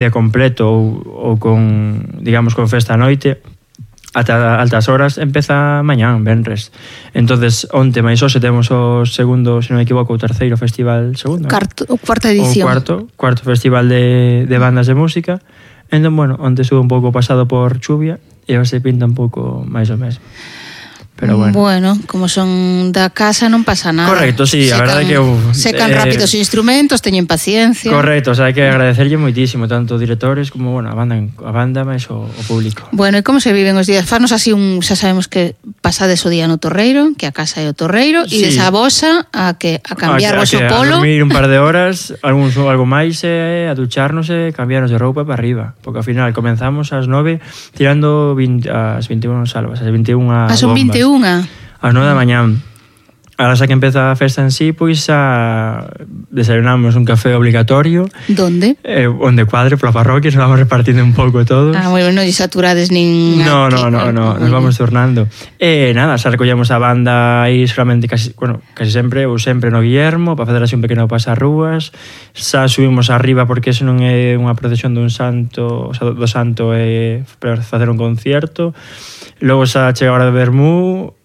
día completo ou con, digamos, con festa a noite, ata altas horas, empeza mañán, venres. Entonces, onte máis hoxe temos o segundo, se non me equivoco, o terceiro festival, segundo, cuarta edición. O cuarto festival de bandas de música. Entón, bueno, onte estuve un pouco pasado por chuvia e hoxe pinta un pouco máis o mesmo. Pero bueno, como son da casa non pasa nada. Correcto, sí, a verdade que secan rápido os instrumentos, teñen paciencia. Correcto, o sea, hai que agradecerlle moitísimo tanto directores como, bueno, a banda máis o público. Bueno, e como se viven os días? Fanos así xa sabemos que pasades o día no Torreiro, que a casa é o Torreiro, e desa vosa a cambiar vos o polo. A dormir un par de horas, algo máis, a ducharnos e cambiarnos de roupa para arriba, porque ao final comenzamos ás 9 tirando as 21 salvas, as 21 bombas. Son 21. Ás 9 da mañán. Ahora xa que empeza a festa en sí, pois desayunamos un café obligatorio. Donde? Onde cuadre, pola parroquia, nos vamos repartindo un pouco todo. Bueno, non saturades nin... No, nos vamos turnando. Nada, xa recollemos a banda aí solamente casi sempre ou sempre no Guillermo, para facer así un pequeno pasarrúas. Xa subimos arriba porque eso non é unha procesión dun santo, o sea, do santo é para facer un concierto. Logo xa chega a hora de vermú,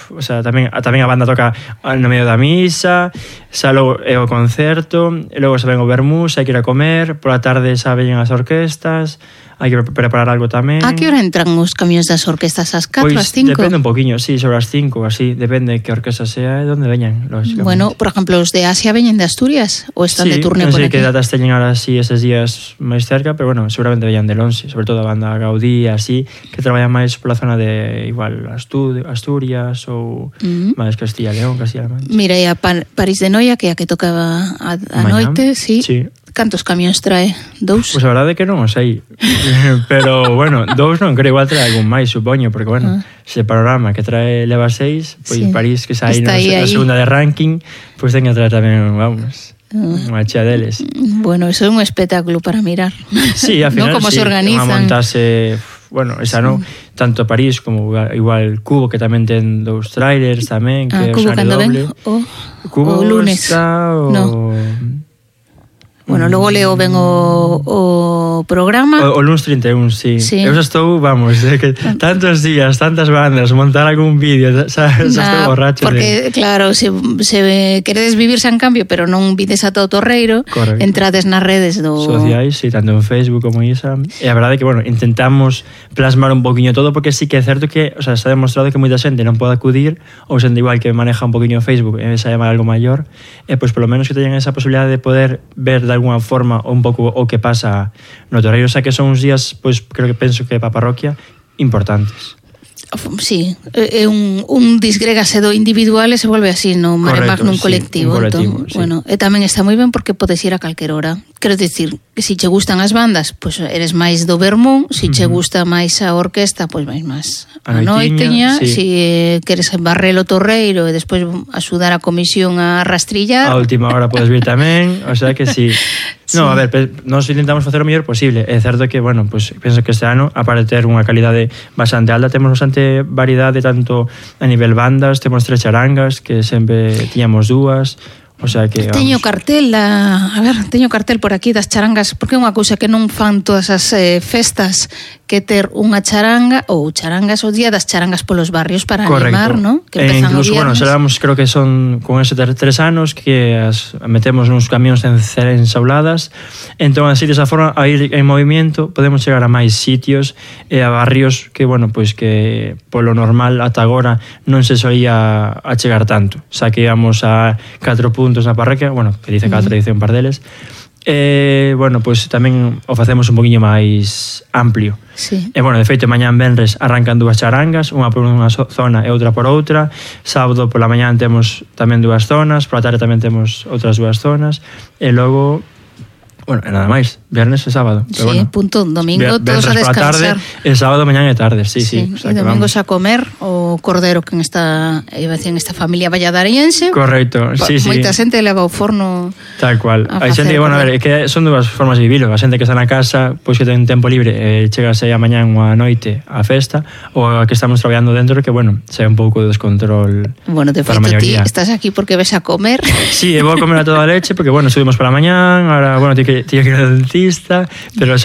o sea, tamén a banda toca no medio da misa, xa logo é o concerto, e logo xa ven o vermú, xa hai que ir a comer, pola tarde xa veñen as orquestas, hai que preparar algo tamén. A que hora entran os camións das orquestas? As 4, pois as 5? Depende un poquinho, sí, sobre as 5, así, depende que orquesta sea e onde veñan, lógicamente. Bueno, por exemplo, os de Asia veñen de Asturias ou están de turné por aquí? Sí, non sei que datas teñen ahora así eses días máis cerca, pero bueno, seguramente veñan del 11, sobre todo a banda Gaudí, así, que traballan máis pola zona de, igual, Asturias ou máis Castilla y León, Castilla-La Mancha. Mira, e a París de Noia, que é a que tocaba a noite, sí. Cantos camións trae? 2? Pois a verdade é que non o sei. Pero, bueno, 2 non creo, igual trae algún máis, supoño, porque, bueno, se o panorama que trae leva 6, pois París, que xa aí na segunda de ranking, pois ten que traer tamén, vamos, unha chea deles. Bueno, eso é un espectáculo para mirar. Sí, al final, ¿no? Como se organizan. Unha montase... Bueno, esa non, tanto París como igual Cubo, que tamén ten 2 trailers tamén, que é o Sane Doble. Cubo o lunes. Está no. Bueno, logo leo ben o programa. O lunes 31, sí. Eu xa estou, vamos, que tantos días, tantas bandas, montar algún vídeo, xa estou borracho. Porque, claro, se queredes vivir San Cambio, pero non vides a todo Torreiro, entrades nas redes sociais, sí, tanto en Facebook como Isa. E a verdade é que, bueno, intentamos plasmar un poquinho todo, porque sí que é certo que, o sea, está demostrado que moita xente non pode acudir, ou xente igual que maneja un poquinho Facebook e xa llama algo maior, e pois polo menos que teñan esa posibilidade de poder ver de alguna forma un pouco o que pasa no Torreiro, xa que son uns días, pois creo que penso que para a parroquia importantes. Sí, é un disgrégase do individual e se volve así no mare magnum colectivo. Entón, sí. Bueno, e tamén está moi ben porque podes ir a calquer hora. Quero dicir, que se che gustan as bandas, pois eres máis do vermú, se che gusta máis a orquesta, pois vais máis a noiteña, sí. Se queres barrer o Torreiro e despois axudar a comisión a rastrillar. A última hora podes vir tamén, o sea que sí. No, a ver, nós intentamos facer o mellor posible. É certo que, bueno, pues, penso que este ano, aparte de ter unha calidade bastante alta, temos bastante variedade tanto a nivel bandas, temos 3 charangas, que sempre tiñamos 2. O sea que, teño cartel, teño cartel por aquí das charangas, porque é unha cousa que non fan todas as festas, que ter unha charanga ou charangas o día das charangas polos barrios para animar, ¿no? Que empezan incluso, bueno, seramos, creo que son con ese 3 anos que as metemos nos camións ensauladas, entón así desa forma a ir en movimento podemos chegar a máis sitios e a barrios que, bueno, pois que polo normal ata agora non se solía a chegar tanto, xa que íbamos a 4 puntos na parroquia, bueno, que dice 4, dice un par deles. Bueno, pois tamén o facemos un poquinho máis amplio. Sí. E bueno, de feito, mañán venres arrancan 2 charangas, unha por unha zona e outra por outra. Sábado pola mañán temos tamén 2 zonas, pola tarde tamén temos outras 2 zonas, e logo, bueno, e nada máis, viernes e sábado. Pero sí, bueno, punto, domingo todos a descansar. Tarde, e sábado, mañán e tarde, sí. O sea, e domingos a comer o cordero que en esta familia valladariense. Correcto, sí. Moita xente leva o forno. Tal cual. Hai xente, bueno, a ver, é que son 2 formas de vivilo. A xente que está na casa, pois que ten tempo libre, chegase a mañán ou a noite á festa, ou a que estamos traballando dentro, que, bueno, se un pouco de descontrol. Bueno, de feito, ti estás aquí porque ves a comer. Sí, vou a comer a toda leche, porque, bueno, subimos para mañán, ahora, bueno, ti que que ir ao dentista, pero xa